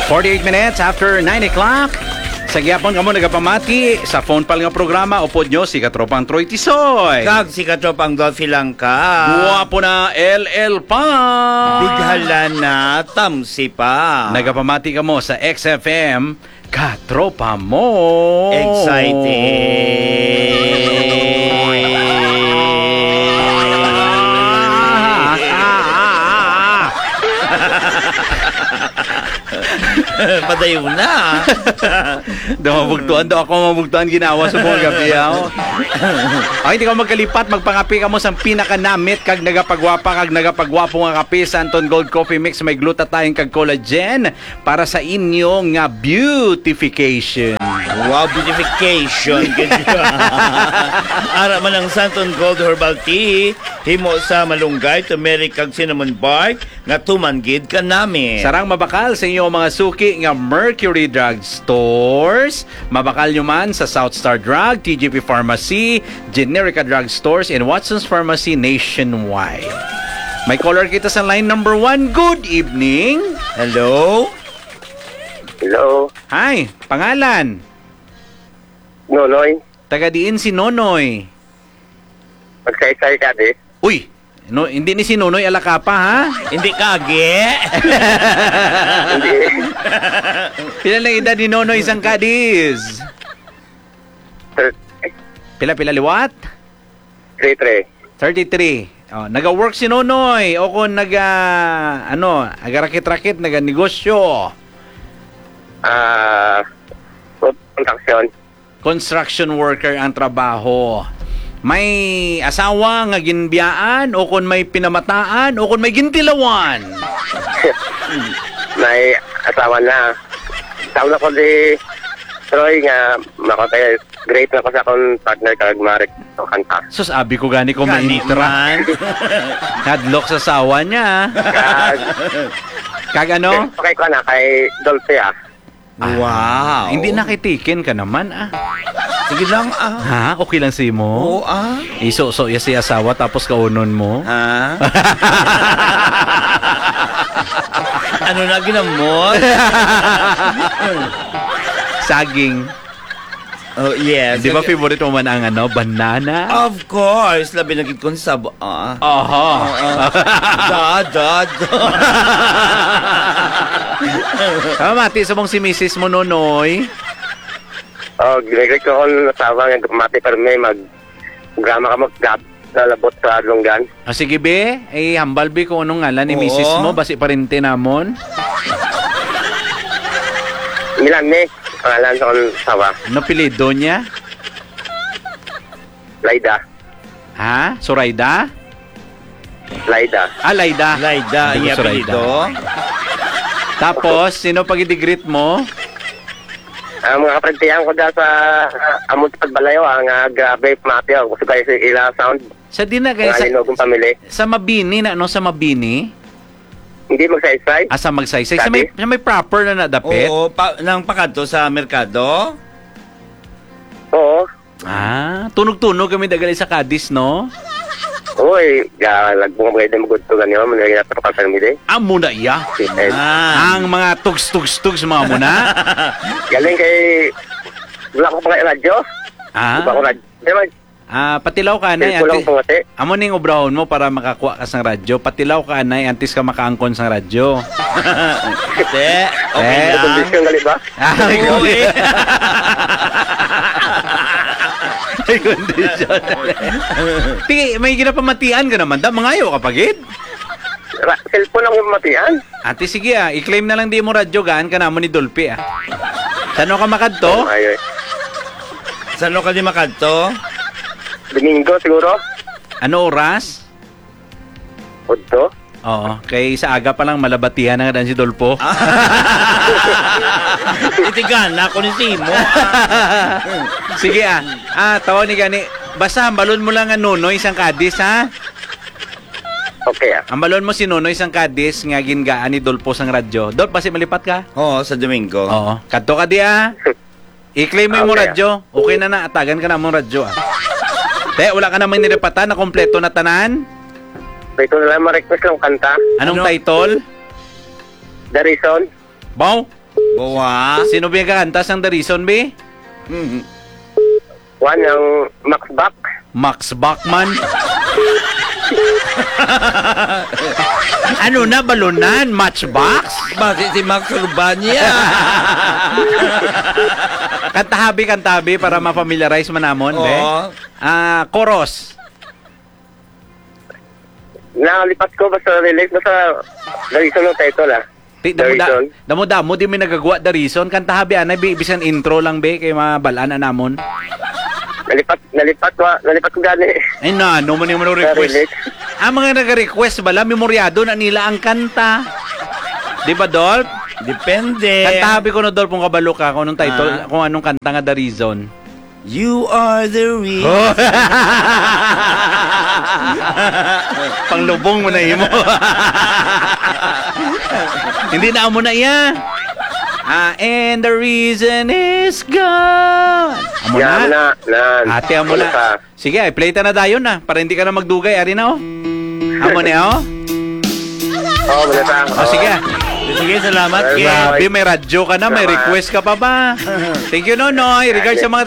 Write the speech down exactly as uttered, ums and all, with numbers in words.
Forty-eight minutes after nine o'clock. Sa gihapon kamo nagapamati sa phone pal nga programa, upod nyo si Katropang Troy Tisoy. Kag si Katropang Dolphy Langka. Guwapo na, L L pa. Bighala na, tamsi pa. Nagapamati kamo sa X F M, Katropa mo. Exciting. Padayon na. Daw mabugtuan, daw ako mabugtuan ginawa sa mga gabi, ah, oh. Ay, hindi ka magkalipat, magpangapi kamo sa pinakanamit kag nagapagwapa kag nagapagwapo nga kape sa Anton Gold Coffee Mix, may glutathione kag collagen para sa inyo nga beautification. Wow, beautification. Ara man ang Santon Gold Herbal Tea, himo sa malunggay, turmeric, kag cinnamon bark, nga tuman gid kanami. Sarang mabakal sa inyo mga suki nga Mercury Drug Stores. Mabakal nyo man sa South Star Drug, T G P Pharmacy, Generica Drug Stores, and Watson's Pharmacy nationwide. May caller kita sa line number one. Good evening. Hello? Hello? Hi, pangalan? Nonoy. Taga diin si Nonoy? Magsaysay ka, di? Uy! No, hindi ni si Nonoy Alacapa, ha? Hindi kagi. Hindi. Pila na edad ni Nonoy sang kadis? Thir- Pila, pila liwat? Three three. Thirty-three. Oh, naga-work si Nonoy o kung naga, ano, agarakit-rakit, naga-negosyo? Ah, construction. Construction worker ang trabaho. May asawa nga ginbiyaan o kung may pinamataan o kung may gintilawan? May asawa na. Tawag na ko di Troy nga makapag-great na ko sa akong partner kag marik ang kanta. Sus, abi ko gani ko Gani maintra. man. Hadlok sa asawa niya. Kag, Kag ano? Okay ko na kay Dolphy, ah. Ah, Wow. Hindi na kay tikin ka naman, ah. Sige lang, ah. Ha? Okay lang si mo? Oo, ah. Iso-so ya si asawa tapos kaunon mo? Ha? Ano na ginamot? Saging. Oh, yes. Di ba favorite mo man ang ano, banana? Of course, labi na gid kung sab-, ah. Aha. Oo. Da, da, da. Tama, mati sa mong si misis mo, Nonoy. Oh, ginagay ko ang asawa nga mati, pero may mag-, drama ka mag-, lalabot sa lunggan. Ah, sige, be. Eh, hambal, be, kung anong ngalan ni Oo. misis mo. Basi parente namon. Milan, eh. Pangalan sa akong asawa. Ano apelyido niya? Laida. Ha? Sorayda? Laida. Ah, Laida. Laida, Hindi ko iya Sorayda. apelyido. Tapos, sino pag-greet mo? Ang mga kapagtiyan ko dyan sa, ah, amon sa Pagbalayo, ah, nga grabe, pamati, ah, gusto kayo sa ila sound. Sa di na kayo Mga sa, Linogong family. sa Mabini na, no? Sa Mabini? Hindi magsaysay. Ah, sa Magsaysay. Sa may, Sabi? sa may proper na nadapit? Oo, pa, nang pakadto sa merkado? Oo. Ah, tunog-tunog kami dagali sa Cadiz, no? Uy, ya, lagbo nga magay na magudto ganyan, man, lagi na tropa kami, di. Amo na iya. Yes. Ah. Ang mga tugs-tugs-tugs, mga mo na. Galing kay, wala ko pa kay radyo. Ah. Wala ko radyo. Di ba? Ah, patilaw ka, anay, Cellphone lang anti-, pangati. amo ning obrahon mo para makakuha ka sang radyo. Patilaw ka, anay, antes ka makaangkon sang radyo. Te, okay Eh, lang. Kondisyon gali ba? Ah, Oo, eh. Ay, kondisyon. Ti, may ginapamatian ka naman, da, mangayo ka pa, gid? Ra-, cellphone lang yung matian. Ate, sige, ah, i-claim na lang di mo radyo, gaan ka namon ni Dolphy, ah. Sano ka makadto? Oh, ay, ay. Sano ka di makadto? Domingo, siguro. Ano oras? Udto. Oo, kay sa aga pa lang, malabatihan na nga dan si Dolpo. Itigan na ako ni Simo. Sige, ah. Ah, tawag ni gani. Basta hambalon mo lang nga Nonoy sang Cadiz, ha? Okay, ah. Hambalon mo si Nonoy sang Cadiz nga gingaan ni Dolpo sang radyo. Dolp, basi malipat ka? Oo, sa Domingo. Oo. Kadto ka di, ah. I-claim mo yung Okay, ah. radyo. Okay na na. Atagan ka na mong radyo, ah. Te, wala ka namang nilipatan na kompleto na tanan? Ito na lang, ma-request lang kanta. Anong Ano? title? The Reason. Baw? Wa. Sino ba yung kakanta sang The Reason, be? Mm. One ang Max Bach. Max Bachman? Ano na, balunan? Matchbox? Basi si Max Urbania. Kantahabi, kantahabi para ma-familiarize man namon, be. Oo. Ah, chorus. Nalipat ko, basta lyrics, basta The Reason ang title, ah. Ti, The damo da, Reason. Damo-damo, di may nagagawa The Reason. Kantahabi, anay, bi-, bisan intro lang, be, kay mabalaan na namon. Nalipat, nalipat ko, ah. Nalipat ko gani. Ay, na, ano man yung mga Sa request? Lyrics. Ang mga nag-request bala, memoryado na nila ang kanta. Di ba, Dolph? Depende. Kantahabi ko na, Dolph, kung kabalo ka, kung anong title, Ah. kung anong kanta nga The Reason. You are the reason. Oh. Panglubong mo na imo. Hindi na amo na iya. Ah, and the reason is God. Amo Yeah, na. Amo na, na. Ate, amo Amo na. na. Sige, ay, play ta na dayon na para hindi ka na magdugay. Ari na, oh. Amo na, oh. Oh, amo na ta. Oh, sige. Sige, salamat, Ken. Grabe, may radyo ka na, may Salamat. request ka pa ba? Thank you, Nonoy. Regards sa mga